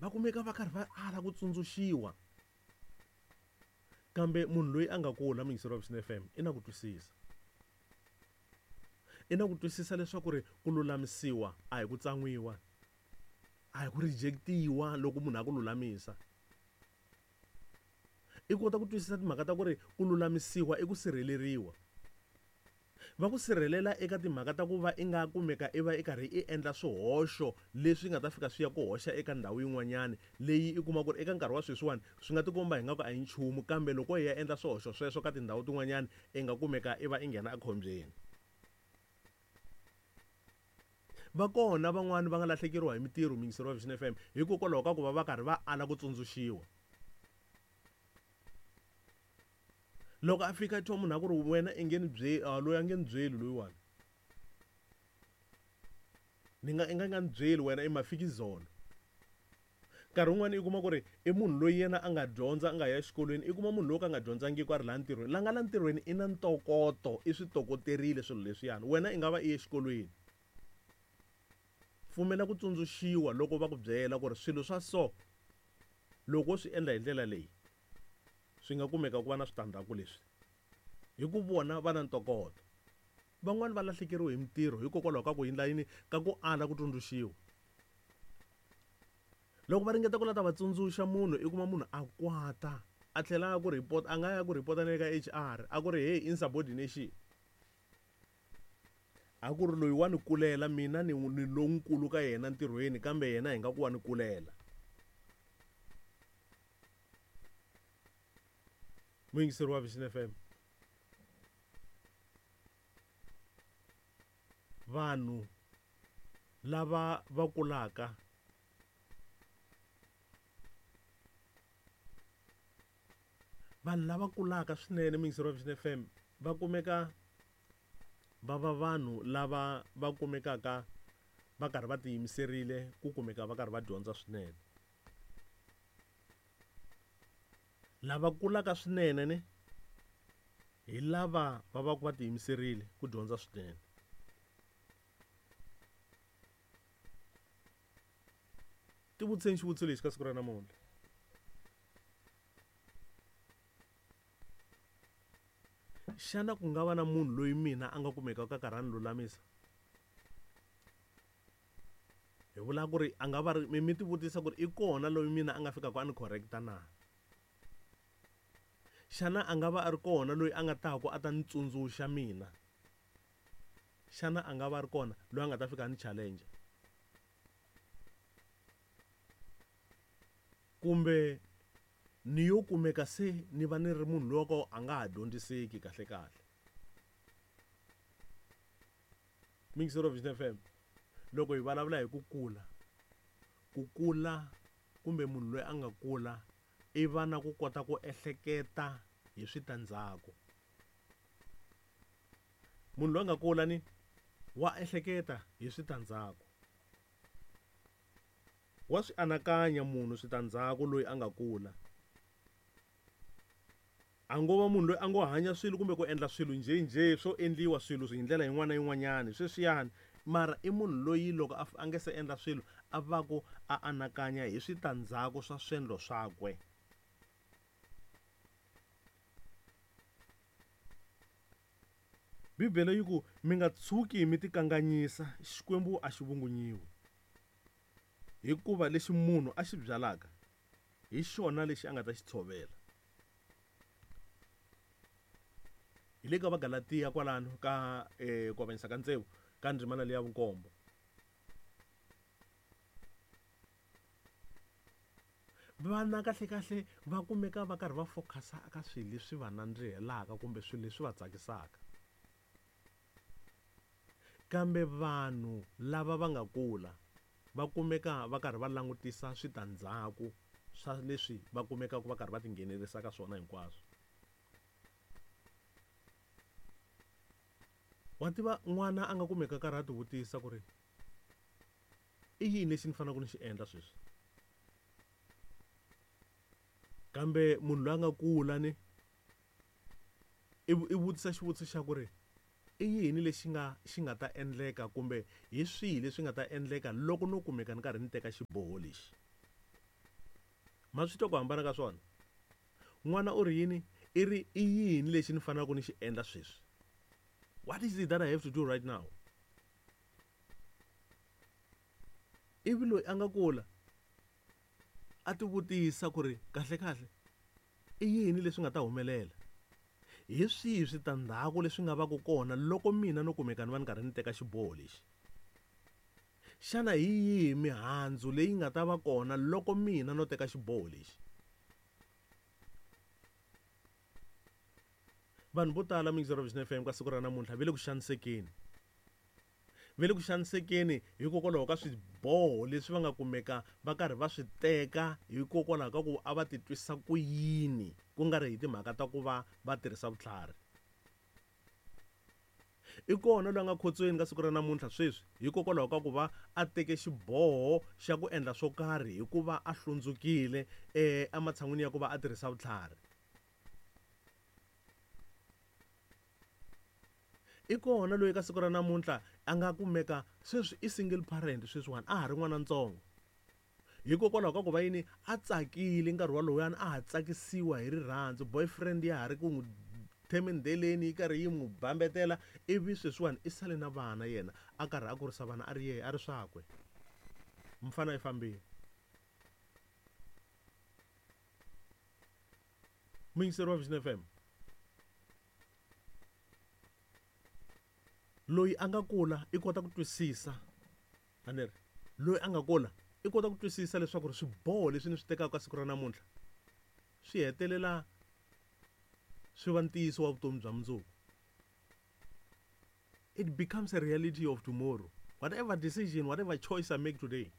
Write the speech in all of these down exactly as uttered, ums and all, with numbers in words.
Va kumeka va karhi va ala ku tsundzuxiwa. Kambe munhu loyi a nga kula muyingiseri wa Vision F M i na ku twisisa. I na ku twisisa leswaku ri ku lulamisiwa a hi ku tsan'wiwa, a hi ku rejectiwa loko munhu a ku lulamisa. I kota ku twisisa timhaka ta ku ri ku lulamisiwa i ku sirheleriwa. Va ku sirhelela eka timhaka ta ku va i nga kumeka i va i karhi i endla swihoxo leswi nga ta fika swi ya ku hoxa eka ndhawu yin'wanyani leyi i kuma ku ri eka nkarhi wa sweswiwani swi nga tikomba hi nga ku a hi nchumu, kambe loko hi ya endla swihoxo sweswo ka tindhawu tin'wanyani i nga kumeka i va i nghena ekhombyeni. Va kona van'wani va nga lahlekeriwa hi mitirho muyingiseri wa Vision F M hikokwalaho ka ku va va karhi va ala ku tsundzuxiwa. Loko a fika twa munhu a ku ri wena i nge ni byeli, ah, loyi a nge ni byeli loyiwani. Ni nga, i nga nga ni byeli wena i mafikizolo. Nkarhi wun'wani i kuma ku ri i munhu loyi yena a nga dyondza, a nga ya exikolweni, i kuma munhu loyi ka nga dyondzangiki a ri laha ntirhweni. La nga la ntirhweni i na ntokoto, i swi tokoterile swilo leswiyani. Wena i nga va i ye exikolweni. Pfumela ku tsundzuxiwa loko va ku byela ku ri swilo swa so loko wo swi endla hi ndlela leyi swi nga kumeka ku va na switandzhaku leswi. Hi ku vona va na ntokoto. Van'wani va lahlekeriwe hi mitirho hikokwalaho ka ku endla yini? Ka ku ala ku tsundzuxiwa. Loko va ringeta ku lava ta va tsundzuxa munhu, i kuma munhu a kwata, a tlhela a ku report, a nga ya ku report na le ka H R, a ku ri hey, insubordination. A ku ri loyi wa ni kulela, mina ni, ni lonkulu ka yena ntirhweni, kambe yena hi nga ku wa ni kulela. Muyingiseri wa Vision F M. Vanhu lava va kulaka vanhu lava kulaka swinene muyingiseri wa Vision F M va kumeka va va vanhu lava va kumekaka va karhi va tiyimiserile ku kumeka va karhi va dyondza swinene. Lava kulaka swinene ne hi lava va va ku va tiyimiserile ku dyondza swinene. Tivutiseni xivutiso lexi ka siku ra namuntlha. Xana ku nga va na munhu loyi mina a nga kumekaka a karhi a ni lulamisa? Hi vula ku ri a nga va ri, mi, mi tivutisa ku ri i kona loyi mina a nga fikaka a ni correcta na? Xana a nga va a ri kona loyi a nga ta ku a ta ni tsundzuxa mina? Xana a nga va a ri kona loyi a nga ta fika a ni challenge? Kumbe ni yo kumeka se ni va ni ri munhu loyi ka a nga ha dyondziseki kahle kahle. Mixer of Vision F M, loko hi vulavula hi ku kula, ku kula kumbe munhu loyi a nga kula i va na ku kota ku ehleketa hi switandzhaku. Munhu loyi a nga kula ni wa ehleketa hi switandzhaku. Wa swi anakanya munhu switandzhaku loyi a nga kula. A ngo va munhu loyi a ngo hanya swilo kumbe ku endla swilo njhenjhe swo endliwa swilo hi ndlela yin'wana na yin'wanyana sweswiyani, mara i munhu loyi loko a f-, a nge se endla swilo a va ku a anakanya hi switandzhaku swa swendlo swakwe. Bibele yi ku mi nga tshuki mi tikanganyisa, Xikwembu a xi vungunyiwi. Hikuva lexi munhu a xi byalaka hi xona lexi a nga ta xi tshovela. Hi le ka Vagalatiya kwalano ka, eh, ku avanyisa ka tsevu ka ndzimana leya vunkombo. Vana kahle kahle va kumeka va karhi va focus-a eka swilo leswi va nandzihelaka kumbe swilo leswi va tsakisaka. Kambe vanhu lava va nga kula va kumeka va karhi va langutisa switandzhaku swa leswi va kumekaka va karhi va tinghenelerisa ka swona hinkwaswo. Wa tiva n'wana a nga kumeka karhi a tivutisa ku ri i yini lexi ni faneleke ni xi endla sweswi? Kambe munhu loyi a nga kula ni i vu-, i vutisa xivutiso xa ku ri i yini lexi nga, xi nga ta endleka kumbe hi swihi leswi nga ta endleka loko no kumeka ni karhi ni teka xiboho lexi? Ma swi twa ku hambana ka swona? N'wana u ri yini? I ri i yini lexi ni faneleke ni xi endla sweswi? What is it that I have to do right now? Ivi loyi a nga kula a ti vutisa ku ri kahle kahle i yini leswi nga ta humelela? Hi swihi switandzhaku leswi nga va ku kona loko mina no kumeka ni va ni karhi ni teka xiboho lexi? Xana hi yihi mihandzu leyi nga ta va kona loko mina no teka xiboho lexi? Vanhu vo tala muyingiseri wa Vision F M ka siku ra namuntlha va le ku xanisekeni. Va le ku xanisekeni hikokwalaho ka swiboho leswi va nga kumeka va karhi va swi teka hikokwalaho ka ku a va titwisa ku yini, ku nga ri hi timhaka ta ku va va tirhisa vutlhari. I kona loyi a nga khotsweni ka siku ra namuntlha sweswi hikokwalaho ka ku va a teke xiboho xa ku endla swo karhi hikuva a hlundzukile ematshan'wini ya ku va a tirhisa vutlhari. I kona loyi ka siku ra namuntlha a nga kumeka sweswi i single parent sweswiwani, a ha ri n'wana ntsongo. Hikokwalaho ka ku va yini a tsakile nkarhi walowuyani, a ha tsakisiwa hi rirhandzu, boyfriend ya ha ri ku n'wi themendeleni yi karhi yi n'wi bambetela, ivi sweswiwani i sale na vana yena a karhi a kurisa vana a ri yehe a ri swakwe. Mfana i fambile. Muyingiseri wa Vision F M, loyi a nga kula i kota ku twisisa, a ni ri loyi a nga kula i kota ku twisisa leswaku ri swiboho leswi ni swi tekaka ka siku ra namuntlha swi hetelela swi va ntiyiso wa vutomi bya mundzuku. It becomes a reality of tomorrow. Whatever decision, whatever choice I make today,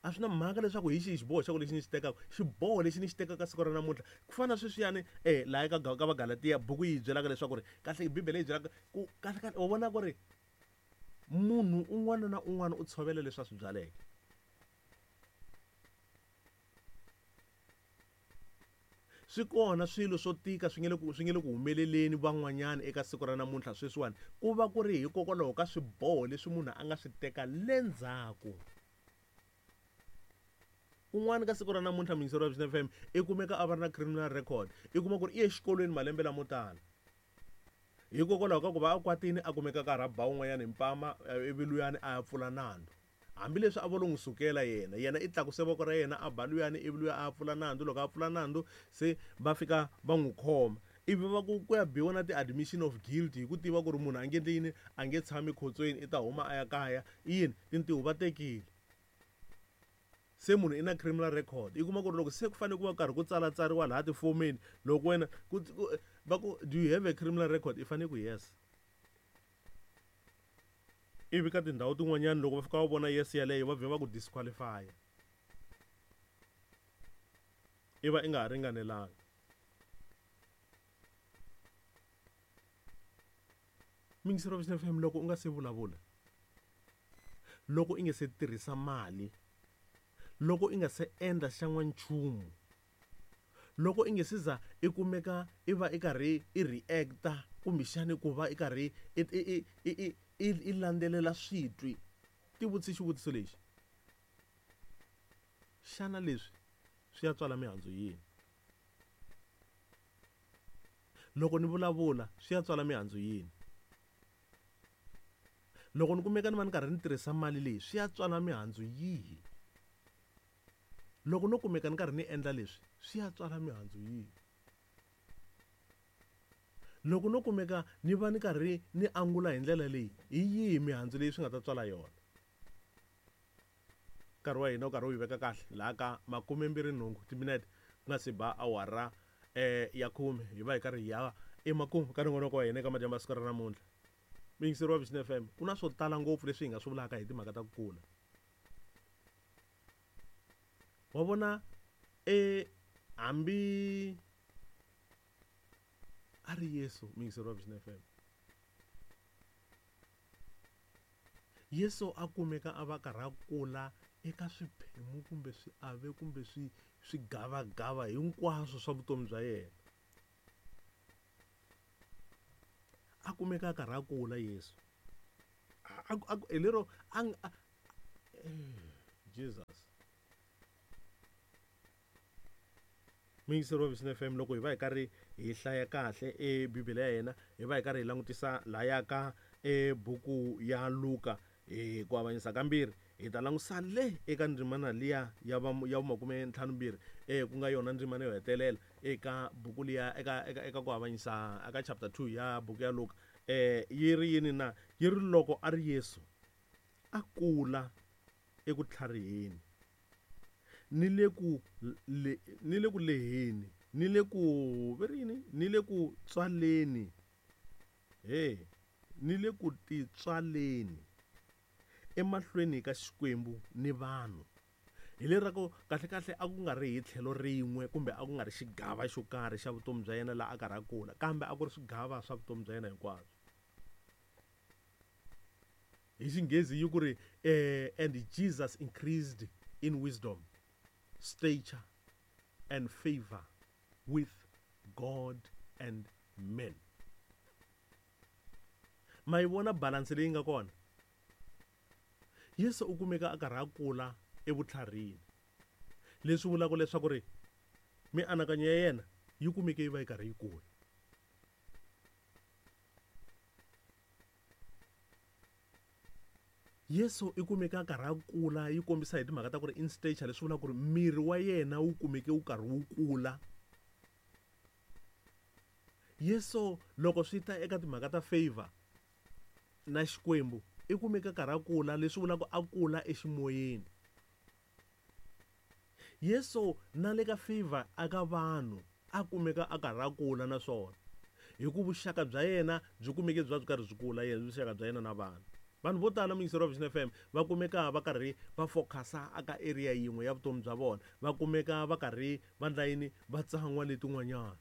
a swi na mhaka leswaku hi xihi xiboho xa ku lexi ni xi tekaka, xiboho lexi ni xi tekaka siku ra namuntlha. Ku fana na sweswiyani eh laha ka ka Vagalatiya buku yi byelaka leswaku ri kahle Bibele yi byelaka ku kahle kahle wa vona ku ri munhu un'wana na un'wana u tshovela leswi a swi byaleke. Swi kona swilo swo tika swi nge le ku swi nge le ku humeleleni van'wanyana eka siku ra namuntlha sweswiwani, ku va ku ri hikokwalaho ka swiboho leswi munhu a nga swi teka le ndzhaku. Un'wana ka siku ra namuntlha muyingiseri wa Vision F M i kumeka a va ri na criminal record, i kuma ku ri i ye exikolweni malembe lamo tala hikokwalaho ka ku va a kwatile a kumeka karhi a ba un'wanyana hi mpama, ivi luyani a ya pfula nandzu. Hambileswi a vo lo n'wi sukela yena, yena i tlakuse voko ra yena a ba luyani, ivi luya a pfula nandzu. Loko a pfula nandzu se va fika va n'wi khoma, ivi va ku ku ya biwa na ti-admission of guilt hi ku tiva ku ri munhu a nge endli yini, a nge tshami khotsweni, i ta huma a ya kaya. I yini tintiho va tekile, se munhu i na criminal record. I kuma ku ri loko se ku fanele ku va karhi ku tsalatsariwa laha tifomeni, loko wena ku va ku do you have a criminal record, i fanele ku yes. Ivi ka tindhawu tin'wanyana loko va fika va vona yes yaleyo va vhe va ku disqualify, i va i nga ha ringanelanga. Muyingiseri wa Vision F M, loko u nga se vulavula, loko i nga se tirhisa mali, loko i nga se endla xan'wanchumu, loko i nge se za i kumeka i va i karhi i react-a kumbexani ku va i karhi i i i i i landzelela switwi, ti vutise xivutiso lexi: xana leswi swi ya tswala mihandzu yini? Loko ni vulavula swi ya tswala mihandzu yini? Loko ni kumeka ni va ni karhi ni tirhisa mali leyi swi ya tswala mihandzu yihi? Loko no kumeka ni karhi ni endla leswi swi ya tswala mihandzu yihi? Loko no kumeka ni va ni karhi ni angula hi ndlela leyi, hi yihi mihandzu leyi swi nga ta tswala yona? Nkarhi wa hina wu karhi wu yi veka kahle laha ka makume mbirhi nhungu timinete ku nga se ba awara eh ya khume, hi va hi karhi hi ya emakumu ka nongonoko wa hina eka madyambu ya siku ra namuntlha. Muyingiseri wa Vision F M, ku na swo tala ngopfu leswi hi nga swi vulaka hi timhaka ta ku kula. Wa vona e hambi a ri Yesu, muyingiseri wa Vision F M, Yesu a kumeka a va karhi a kula eka swiphemu kumbe swiave kumbe swi swigavagava hinkwaswo swa vutomi bya yena. A kumeka a karhi a kula Yesu. A a hi lero a Jesus. Muyingiseri wa Vision F M, loko hi va hi karhi hi hlaya kahle e Bibele ya hina, hi va hi karhi hi langutisa laya ka e buku ya Luka hi ku avanyisa kambirhi, hi ta langusa le eka ndzimana liya ya va ya makume ntlhanu mbirhi, eh ku nga yona ndzimana yo hetelela eka buku liya eka eka eka ku avanyisa eka chapter two ya buku ya Luka. Eh yi ri yini na? Yi ri loko a ri Yesu a kula eku tlhariheni ni le ku le, ni le ku leheni ni le ku ve ri yini ni le ku tswaleni he ni le ku titswaleni emahlweni ka Xikwembu ni vanhu. Hi le ra ku kahle kahle a ku nga ri hi tlhelo rin'we kumbe a ku nga ri xigava xo karhi xa vutomi bya yena laha a karhi a kula, kambe a ku ri swigava swa vutomi bya yena hinkwabyo. Hi Xinghezi yi ku ri, eh, and Jesus increased in wisdom, stature and favor with God and men. Ma yi vona balance leyi nga kona? Yesu u kumeka a karhi a kula evutlharini, leswi vulaka leswaku ri mianakanyo ya yena yi kumeke yi va yi karhi yi kula. Yesu i kumeke a karhi a kula, yi kombisa hi timhaka ta ku ri in stature, leswi vulaka ku ri miri wa yena wu kumeke wu karhi wu kula. Yesu loko swi ta eka timhaka ta favor na Xikwembu, i kumeke a karhi a kula, leswi vulaka a kula eximoyeni. Yesu na le ka favor aka vanhu a kumeka a karhi a kula naswona hi ku vuxaka bya yena byi kumeke byi va byi karhi byi kula, yena vuxaka bya yena na vanhu. Vanhu vo tala muyingiseri wa Vision F M va kumeka va karhi va focusa aka area yin'we ya vutomi bya vona, va kumeka va karhi va ndla yini, va tsan'wa letin'wanyana.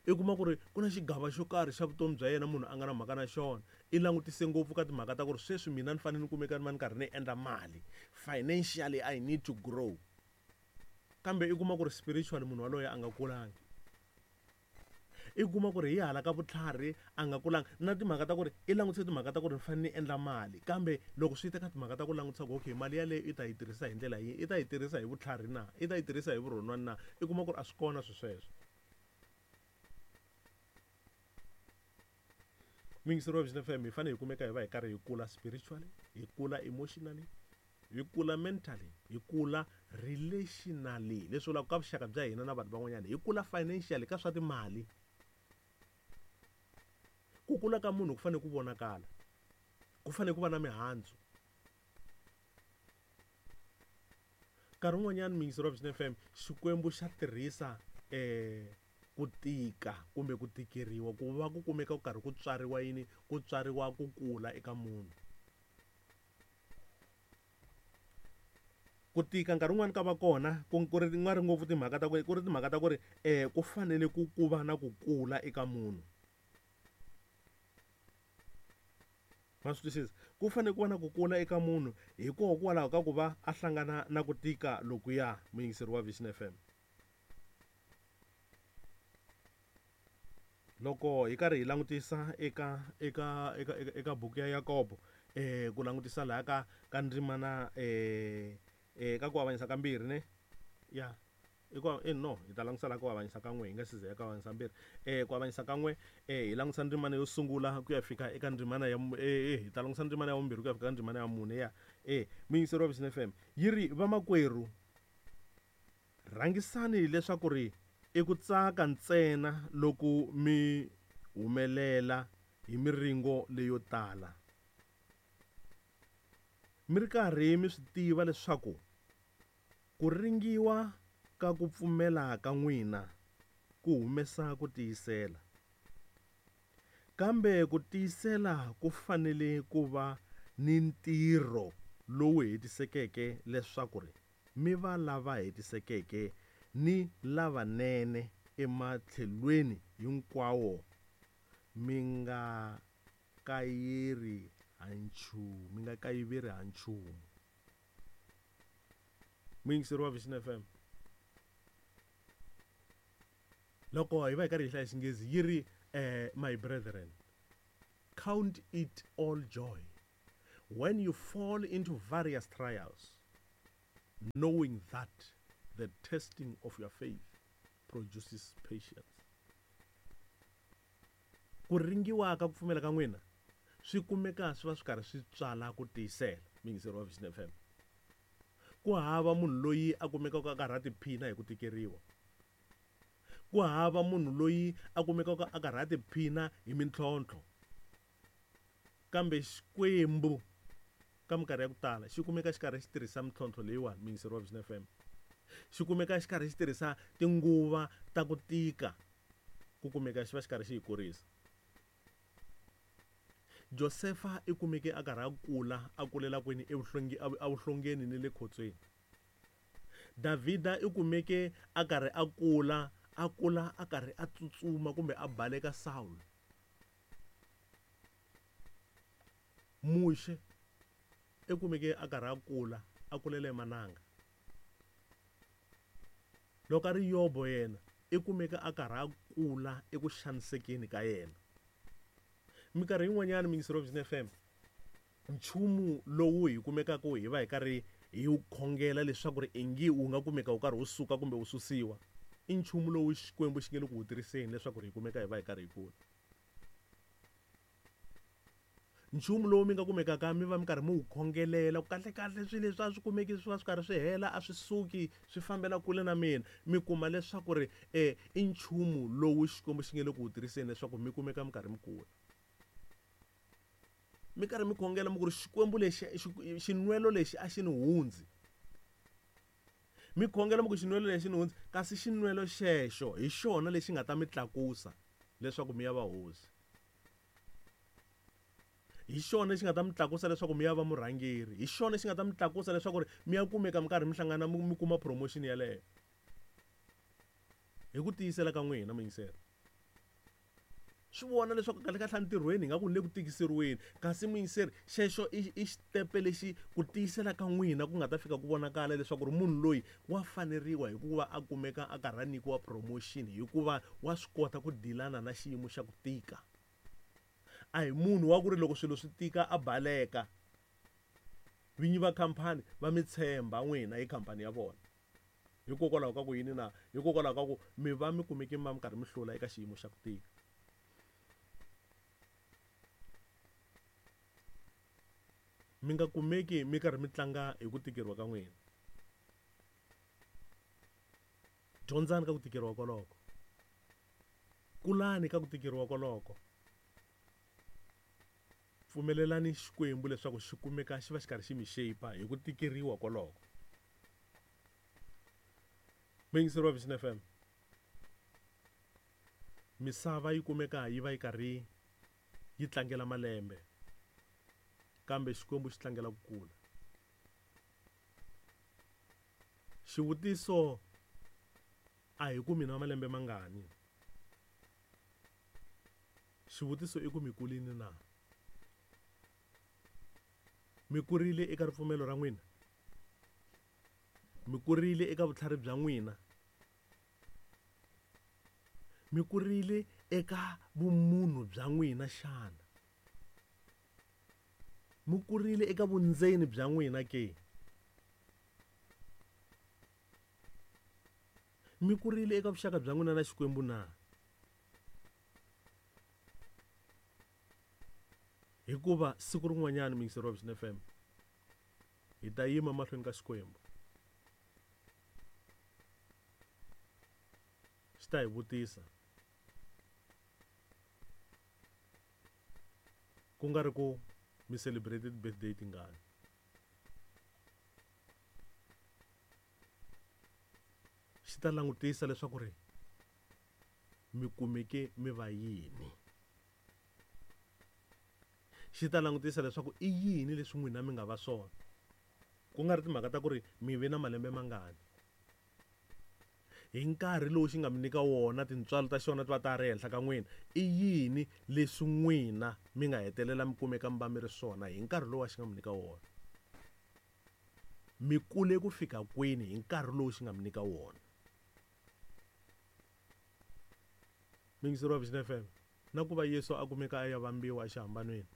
I kuma ku ri ku na xigava xo karhi xa vutomi bya yena munhu a nga na mhaka na xona, i langutise ngopfu ka timhaka ta ku ri sweswi mina ni fanele ni kumeka ni va ni karhi ni endla mali, financially I need to grow, kambe i kuma ku ri spiritually munhu waloye a nga kulangi. I kuma ku ri hi hala ka vutlhari a nga kulanga, na timhaka ta ku ri i langutise timhaka ta ku ri ni fanele ni endla mali, kambe loko swi ta ka timhaka ta ku langutisa ku okay mali yaleyo i ta yi tirhisa hi ndlela yihi, i ta yi tirhisa hi vutlhari na, i ta yi tirhisa hi vurhonwani na, i kuma ku ri a swi kona swi sweswo. Muyingiseri wa Vision F M, hi fanele hi kumeka hi va hi karhi hi kula spiritually, hi kula emotionally, hi kula mentally, hi kula relationally, leswi vulaka ka vuxaka bya hina na vanhu van'wanyana, hi kula financially ka swa timali. Ku kula ka munhu ku fanele ku vonakala, ku fanele ku va na mihandzu. Nkarhi wun'wanyana muyingiseri wa Vision F M, Xikwembu xa tirhisa, eh, ku tika kumbe ku tikeriwa ku va ku kumeka ku karhi ku tswariwa yini, ku tswariwa ku kula eka munhu. Ku tika nkarhi wun'wani ka va kona, ku, ku ri nga ri ngopfu timhaka ta ku, ku ri timhaka ta ku ri, eh, ku fanele ku ku va na ku kula eka munhu. Ma swi twisisa? Ku fanele ku va na ku kula eka munhu hikokwalaho ka ku va a hlangana na ku tika lokuya, muyingiseri wa Vision F M. Loko hi karhi hi langutisa eka, eka, eka, eka, eka buku ya Yakobo, eh, ku langutisa laha ka, ka ndzimana, eh, eh, ka ku avanyisa ka mbirhi ne? Ya. I ku, eh, no, hi ta langutisa laha ku avanyisa ka n'we, hi nga si za ya ka avanyisa mbirhi. Eh, ku avanyisa ka n'we, eh, hi langutisa ndzimana yo sungula ku ya fika eka ndzimana ya mu-, eh, eh, hi ta langutisa ndzimana ya vumbirhi ku ya fika eka ndzimana ya mune, ya. Eh, muyingiseri wa Vision F M, yi ri, vamakwerhu, rhangisani leswaku ri i ku tsaka ntsena loko mi humelela hi miringo leyo tala, mi ri karhi mi swi tiva leswaku ku ringiwa ka ku pfumela ka n'wina ku humesa ku tiyisela, kambe ku tiyisela ku fanele ku va ni ntirho lowu hetisekeke leswaku ri mi va lava hetisekeke ni lavanene ematlhelweni hinkwawo, mi nga kayeri ha nchumu, mi nga kayiveri ha nchumu. Muyingiseri wa Vision F M, loko hi va hi karhi hi hlaya Xinghezi yi ri, eh, my brethren, count it all joy when you fall into various trials, knowing that the testing of your faith produces patience. Ku ringiwa ka ku pfumela ka n'wina swi kumeka swi va swi karhi swi tswala ku tiyisela. Muyingiseri wa Vision F M, ku hava munhu loyi a kumekaka a karhi a tiphina hi ku tikeriwa. Ku hava munhu loyi a kumekaka a karhi a tiphina hi mintlhontlho. Kambe Xikwembu ka minkarhi ya ku tala xi kumeka xi karhi xi tirhisa mintlhontlho leyiwani, muyingiseri wa Vision F M. Xi kumeka xi karhi xi tirhisa tinguva ta ku tika ku kumeka xi va xi karhi xi yi kurisa. Josefa i kumeke a karhi a kula, a kulela kwini evuhlongeni ni le khotsweni. Davhida i kumeke a karhi a kula, a kula a karhi a tsutsuma kumbe a baleka Saul. Muxe i kumeke a karhi a kula, a kulela emananga. Loko a ri Yobo yena i kumeke a karhi a kula eku xanisekeni ka yena. Minkarhi yin'wanyana muyingiseri wa Vision F M, nchumu lowu hi kumekaka hi va hi karhi hi wu khongela leswaku ri ingi wu nga kumeka wu karhi wu suka kumbe wu susiwa, i nchumu lowu Xikwembu xi nge le ku wu tirhiseni leswaku ri hi kumeka hi va hi karhi hi kula. Nchumu lowu mi nga kumekaka mi va mi karhi mi wu khongelela ku kahle kahle swilo leswi a swi kumeki swi va swi karhi swi hela, a swi suki, swi fambela kule na mina, mi kuma leswaku ri eh i nchumu lowu Xikwembu xi nge le ku wu tirhiseni leswaku mi kumeka mi karhi mi kula. Mi karhi mi khongela mi ku ri Xikwembu lexi, xinwelo lexi a xi ni hundzi. Mi khongela mi ku xinwelo lexi ni hundzi, kasi xinwelo xexo hi xona lexi nga ta mi tlakusa leswaku mi ya va hosi. Hi xona lexi nga ta mi tlakusa leswaku mi ya va murhangeri. Hi xona lexi nga ta mi tlakusa leswaku ri mi ya kumeka mi karhi mi hlangana mi kuma promotion yaleyo. Hi ku tiyisela ka n'wina muyingiseri. Swi vona leswaku kahle kahle entirhweni hi nga ku ni le ku tikiseriweni, kasi muyingiseri xexo i i xitepe lexi ku tiyisela ka n'wina ku nga ta fika ku vonakala leswaku ri munhu loyi wa faneriwa hikuva a kumeka a karhi a nyikiwa promotion hikuva wa swi kota ku dilana na xiyimo xa ku tika. A hi munhu wa ku ri loko swilo swi tika a baleka. Vinyi va khampani va mi tshemba n'wina hi khampani ya vona. Hikokwalaho ka ku yini na? Hikokwalaho ka ku mi va mi kumeke mi va mi karhi mi hlula eka xiyimo xa ku tika. Mi nga kumeki mi karhi mi tlanga hi ku tikeriwa ka n'wina. Dyondzani ka ku tikeriwa koloko. Kulani ka ku tikeriwa koloko. Pfumelelani Xikwembu leswaku xi kumeka xi va xi karhi xi mi shape hi ku tikeriwa koloko. Muyingiseri wa Vision F M, misava yi kumeka yi va yi karhi yi tlangela malembe, kambe Xikwembu xi tlangela ku kula. Xivutiso a hi ku mina malembe mangani. Xivutiso i ku mi kulini na? Mi kurile eka ripfumelo ra n'wina? Mi kurile eka vutlhari bya n'wina? Mi kurile eka vumunhu bya n'wina xana? Mi kurile eka vundzeni bya n'wina ke? Mi kurile eka vuxaka bya n'wina na Xikwembu na? Hikuva siku rin'wanyana muyingiseri wa Vision F M, hi ta yima mahlweni ka Xikwembu. Xi ta hi vutisa, ku nga ri ku mi celebrated birthday tingani. Xi ta langutisa leswaku ri mi kumeke mi va yini. Xi ta langutisa leswaku i yini leswi n'wina mi nga va swona. Ku nga ri timhaka ta ku ri mi ve na malembe mangani. Hi nkarhi lowu xi nga mi nyika wona, tintswalo ta xona ti va ta ri ehenhla ka n'wina, i yini leswi n'wina mi nga hetelela mi kumeka mi va mi ri swona hi nkarhi lowu a xi nga mi nyika wona? Mi kule ku fika kwini hi nkarhi lowu xi nga mi nyika wona? Muyingiseri wa Vision F M, na ku va Yesu a kumeka a ya vambiwa exihambanweni,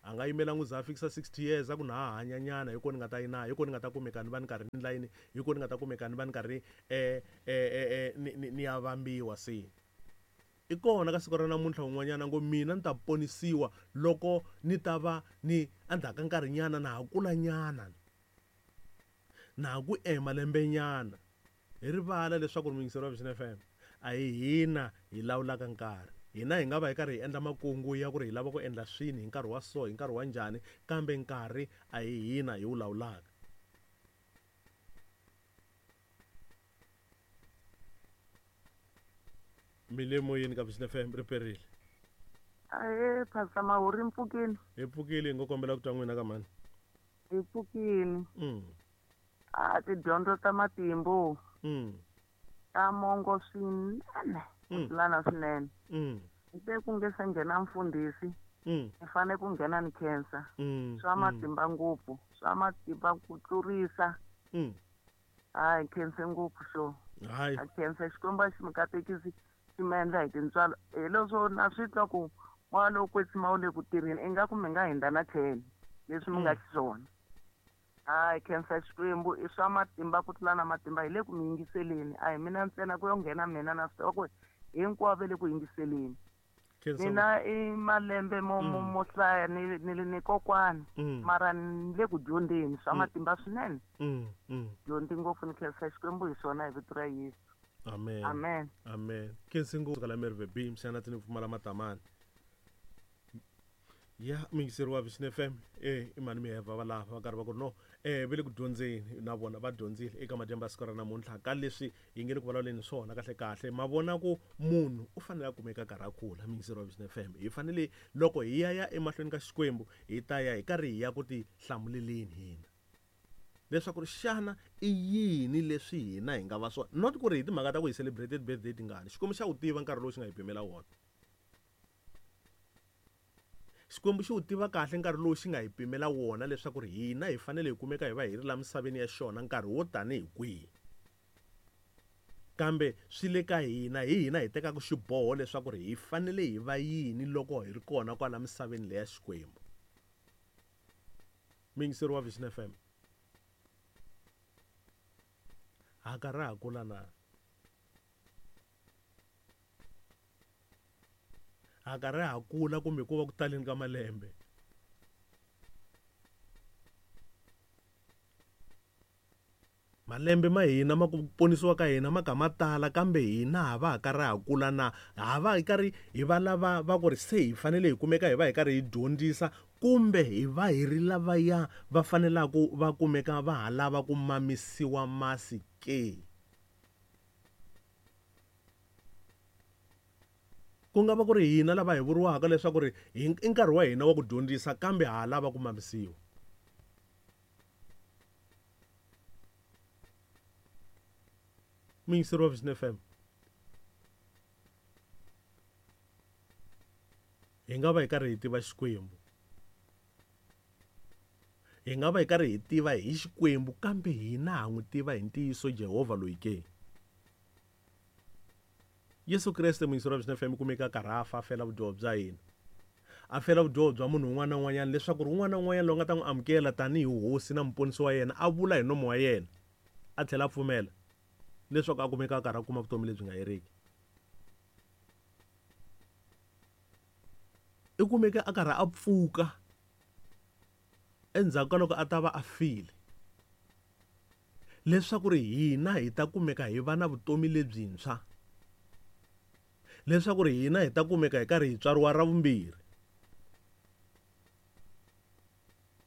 A nga yimela n'wi za a fikisa sixty years a ku na ha hanyanyana hi ko ni nga ta yi na hi ko ni nga ta kumeka ni va ni karhi ni layini hi ko ni nga ta kumeka ni va ni karhi eh eh ni ni ya vambiwa se. I kona ka siku ra namuntlha un'wanyana ngo mina ni ta ponisiwa loko ni ta va ni endzhaku ka nkarhinyana na ha kulanyana na ha ku ema lembenyana. Hi rivala leswaku muyingiseri wa Vision F M a hi hina hi lawulaka nkarhi. Hina hi nga va hi karhi hi endla makungu ya ku ri hi lava ku endla swini hi nkarhi wa so hi nkarhi wa njhani, kambe nkarhi a hi hina hi wu lawulaka. Mi le moyeni ka Vision F M ri perile. Ahee, Pastor Mahuri, mpfukini. Hi pfukile, hi ngo kombela ku twa n'wina ka mhani. Hi pfukini. Mm. A tidyondzo ta matimbu. Mm. Ta mongo swinene. Mm. Tlulana swinene. Mm. Te ku nge se nghena mfundhisi. Mm. Ni fane ku nghena ni khensa. Mm. Swa matimba ngopfu, swa matimba ku tlurisa. Mm. Hayi, khense ngopfu xo. Hayi. A khensa Xikwembu a xi mi katekisi xi mi endla hi tintswalo. Hi leswo na swi twa ku moya lowo kwetsima wu le ku tirheni, ingaku mi nga hundza na tlhelo leswi mi nga xiswona. Hayi, khensa Xikwembu i swa matimba ku tlula na matimba, hi le ku mi yingiseleni. A hi mina ntsena ku yo nghena mina na swi tiva ku hinkwavo va le ku yingiseleni. Mina i malembe mo mo mo hlaya ni ni ni kokwani, mara ni le ku dyondzeni swa matimba swinene. Dyondzi ngopfu, ni khensa Xikwembu hi swona hi vito ra Yesu. Amen. Amen. Amen. Khensi ngopfu kala Merve B mxana tini pfumala matamani. Ya muyingiseri wa Vision F M eh i mani mi heva va lava va karhi va ku no eh va le ku dyondzeni na vona va dyondzile eka madyambu ya siku ra namuntlha ka leswi hi nge le ku vulavuleni swona kahle kahle. Ma vona ku munhu u fanele a kumeka karhi a kula. Muyingiseri wa Vision F M, hi fanele loko hi ya ya emahlweni ka Xikwembu hi ta ya hi karhi hi ya ku ti hlamuleleni hina leswaku xana i yini leswi hina hi nga va swona, not ku ri hi timhaka ta ku hi celebrated birthday tingani. Xikwembu xa wu tiva nkarhi lowu xi nga hi pimela wona. Xikwembu xi wu tiva kahle nkarhi lowu xi nga hi pimela wona leswaku ri hina hi fanele hi kumeka hi va hi ri la misaveni ya xona nkarhi wo tanihi kwihi. Kambe swi le ka hina, hi hina hi tekaka xiboho leswaku ri hi fanele hi va yini loko hi ri kona kwala misaveni leya Xikwembu. Muyingiseri wa Vision F M, ha karhi ha kula na? Ha karhi ha kula kumbe ku va ku taleni ka malembe? Malembe ma hina ma ku ponisiwa ka hina ma ka ma tala, kambe hina ha va ha karhi ha kula na? Ha va hi karhi hi va lava va ku ri se hi fanele hi kumeka hi va hi karhi hi dyondzisa, kumbe hi va hi ri lavaya va fanelaka va kumeka va ha lava ku mamisiwa masi ke? Ku nga va ku ri hina lava hi vuriwaka leswaku ri i nkarhi wa hina wa ku dyondzisa, kambe ha lava ku mamisiwa. Muyingiseri wa Vision F M, hi nga va hi karhi hi tiva Xikwembu, hi nga va hi karhi hi tiva hi Xikwembu, kambe hina ha n'wi tiva hi ntiyiso Jehovha loyi ke? Yesu Kreste muyingiseri wa Vision F M kumeka karhi a fa a fela vudyoho bya hina, a fela vudyoho bya munhu un'wana na un'wanyana, leswaku ri un'wana na un'wanyana loyi nga ta n'wi amukela tanihi hosi na muponisi wa yena, a vula hi nomo wa yena a tlhela a pfumela leswaku a kumeka a karhi a kuma vutomi lebyi nga heriki. I kumeka a karhi a pfuka endzhaku ka loko a ta va a file, leswaku ri hina hi ta kumeka hi va na vutomi lebyintshwa, leswaku ri hina hi ta kumeka hi karhi hi tswariwa ra vumbirhi.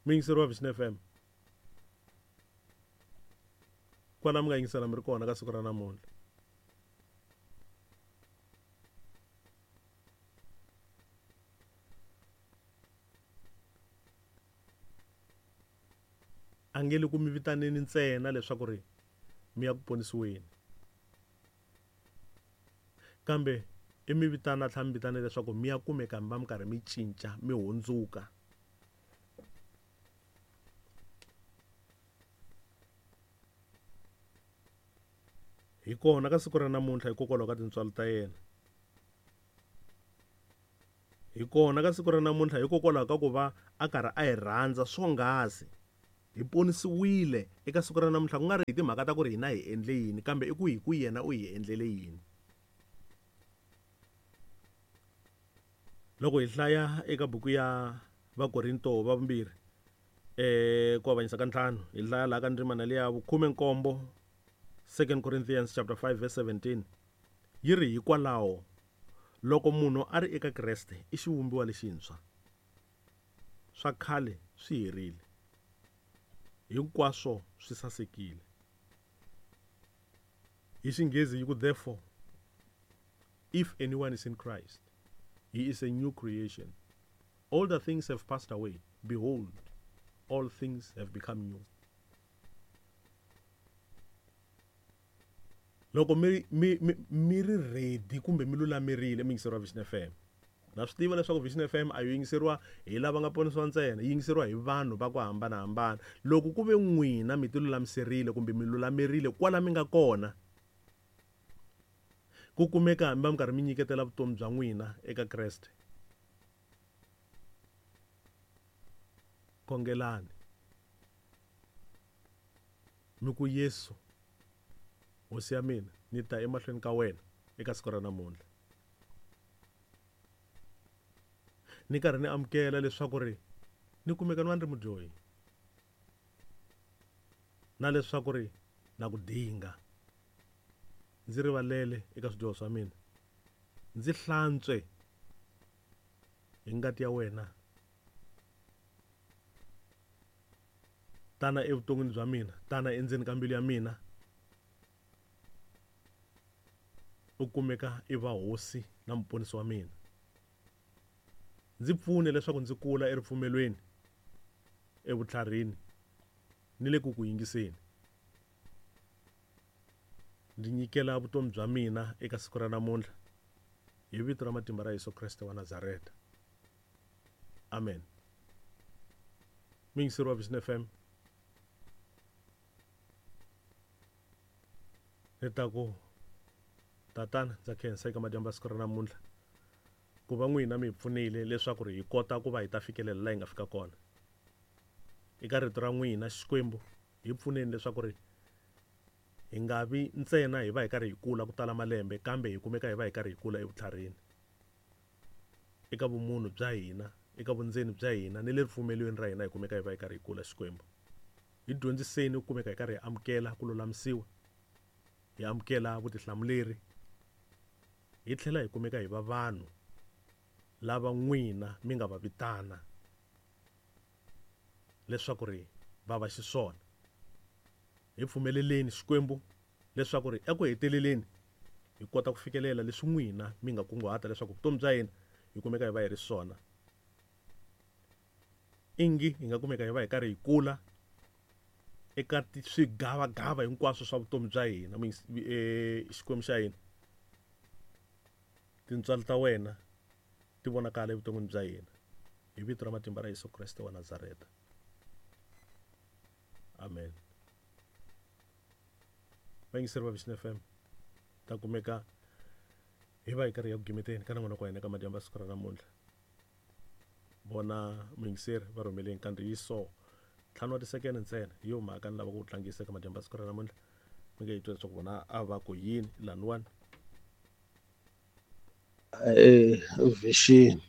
Muyingiseri wa Vision F M, kwala mi nga yingisela mi ri kona ka siku ra namuntlha, a nge le ku mi vitaneni ntsena leswaku ri mi ya ku ponisiweni, kambe i mi vitana tlhela mi vitana leswaku mi ya kumeka mi va mi karhi mi cinca mi hundzuka. Hi kona ka siku ra namuntlha hikokwalaho ka tintswalo ta yena, hi Hi kona ka siku ra namuntlha hikokwalaho ka ku va a karhi a hi rhandza swonghasi. Hi ponisiwile eka siku ra namuntlha ku nga ri hi timhaka ta ku ri hina hi endle yini, kambe i ku hi ku yena u hi endlele yini. Loko hi hlaya eka buku ya Vakorinto va vumbirhi eh ku avanyisa ka ntlhanu, hi hlaya laha ka ndzimana liya vukhume nkombo, Second Corinthians chapter five verse seventeen, yi ri hikwalaho loko munhu a ri eka Kreste i xivumbiwa lexintshwa, swa khale swi herile, hinkwaswo swi sasekile. Hi Xinghezi yi ku therefore if anyone is in Christ, he is a new creation. Older things have passed away, behold, all things have become new. Loko mi mi mi ri ready kumbe mi lulamerile mi yingiseriwa Vision F M, na swi tiva leswaku Vision F M a yi yingiseriwa hi lava nga ponisiwa ntsena, yi yingiseriwa hi vanhu va ku hambanahambana. Loko ku ve n'wina mi ti lulamiserile kumbe mi lulamerile kwala mi nga kona, ku kumeka hambi va mi karhi mi nyiketela vutomi bya n'wina eka Kreste, khongelani mi ku Yesu Hosi ya mina, ni ta emahlweni ka wena eka siku ra namuntlha, ni karhi ni amukela leswaku ri ni kumeka ni va ni ri mudyohi, na leswaku ri na ku dinga, ndzi rivalele eka swidyoho swa mina, ndzi hlantswe hi ngati ya wena, tana evuton'wini bya mina, tana endzeni ka mbilu ya mina, u kumeka i va hosi na muponisi wa mina. Ndzi pfune leswaku ndzi kula eripfumelweni, evutlharini ni le ku ku yingiseni. Ndzi nyikela vutomi bya mina eka siku ra namuntlha hi vito ra matimba ra Yesu Kreste wa Nazareta. Amen. Muyingiseri wa Vision F M, ni ta ku tatana ndza khensa eka madyambu ya siku ra namuntlha ku va n'wina mi hi pfunile leswaku ri hi kota ku va hi ta fikelela laha hi nga fika kona. Eka rito ra n'wina Xikwembu, hi pfuneni leswaku ri hi nga vi ntsena hi va hi karhi hi kula ku tala malembe, kambe hi kumeka hi va hi karhi hi kula evutlharini, eka vumunhu bya hina, eka vundzeni bya hina ni le ripfumelweni ra hina, hi kumeka hi va hi karhi hi kula. Xikwembu, hi dyondziseni ku kumeka hi karhi hi amukela ku lulamisiwa, hi amukela vutihlamuleri, hi tlhela hi kumeka hi va vanhu lava n'wina mi nga va vitana leswaku ri va va xiswona. Hi pfumeleleni Xikwembu leswaku ri eku heteleleni hi kota ku fikelela leswi n'wina mi nga kunguhata leswaku vutomi bya hina hi kumeka hi va hi ri swona. Ingi hi nga kumeka hi va hi karhi hi kula eka swigavagava hinkwaswo swa vutomi bya hina. Xikwembu xa hina, tintswalo ta wena ti vonakala evuton'wini bya hina, hi vito ra matimba ra Yesu Kreste wa Nazareta. Amen. Vayingiseri va Vision F M, ta kumeka hi va hi karhi ya ku gimeteni ka nongonoko wa hina ka madyambu ya siku ra namuntlha. Vona muyingiseri va rhumeleni kandziyiso ntlhanu wa tisekene ntsena, hi yo mhaka ni lava ku tlangisa eka madyambu ya siku ra namuntlha. Mi nge yi twa leswaku vona a va ku yini laniwani. Eh, Vision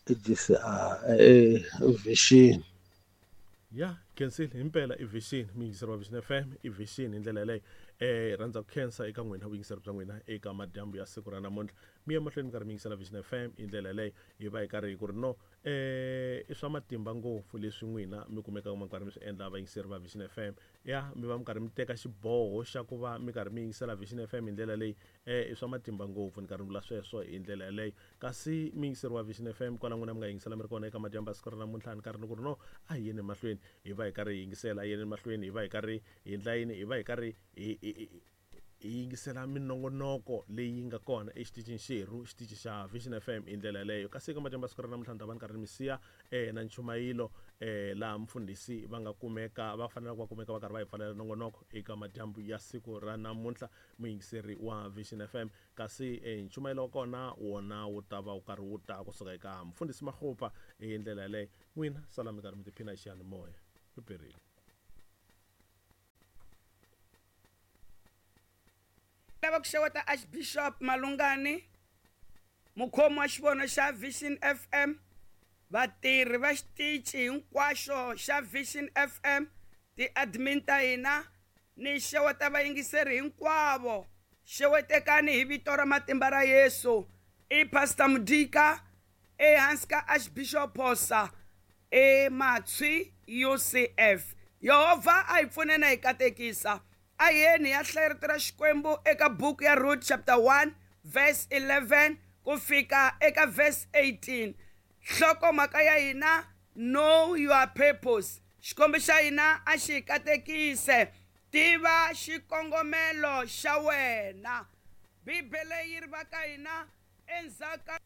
I G C A, eh, Vision. Ya khensile himpela i Vision, muyingiseri wa Vision F M i Vision hi ndlela yaleyo. Eh rhandza ku khensa eka n'wina vuyingiseri bya n'wina eka madyambu ya siku ra namuntlha. Mi ya mahlweni mi karhi mi yingisela Vision F M hi ndlela yaleyo, hi va hi karhi hi ku ri no eh i swa matimba ngopfu leswi n'wina mi kumekaka mi karhi mi swi endla vayingiseri va Vision F M. Ya mi va mi karhi mi teka xiboho xa ku va mi karhi mi yingisela Vision F M hi ndlela leyi, eh i swa matimba ngopfu, ni karhi ni vula sweswo hi ndlela yaleyo. Kasi muyingiseri wa Vision F M kwala n'wina mi nga yingisela mi ri kona eka madyambu ya siku ra namuntlha, ni karhi ni ku ri no a hi yeni mahlweni hi va hi karhi hi yingisela, a hi yeni mahlweni hi va hi karhi hi endla yini, hi va hi karhi hi hi hi yingisela minongonoko leyi nga kona exitichini xerhu xitichi xa Vision F M hi ndlela yaleyo. Kasi eka madyambu ya siku ra namuntlha ni ta va ni karhi ni mi siya eh, na nchumayilo eh, laha mfundhisi va nga kumeka va fanelaka va kumeka va karhi va hi pfalela nongonoko eka madyambu ya siku ra namuntlha, muyingiseri wa Vision F M. Kasi eh, nchumayelo wa kona wona wu ta va wu karhi wu ta kusuka eka mfundhisi Makgopa hi ndlela yaleyo. N'wina sala mi karhi mi tiphina hi xiyanimoya. Ri perile. Lava ku xeweta Archbishop Malungani, mukhomi wa xivono xa Vision F M, vatirhi va xitichi hinkwaxo xa Vision F M, ti-admin ta hina, ni xeweta vayingiseri hinkwavo. Xewetekani hi vito ra matimba ra Yesu. I Pastor Mudika ehansi ka Archbishop Phosa eMatshwi U C F. Yehovha a hi pfune na hi katekisa. A yeni ya hlaya rito ra Xikwembu eka buku ya Ruth chapter one verse eleven ku fika eka verse eighteen. Nhlokomhaka ya hina, know your purpose. Xikwembu xa hina a xi katekise. Tiva xikongomelo xa wena. Bibele yi ri va ka hina endzhaku ka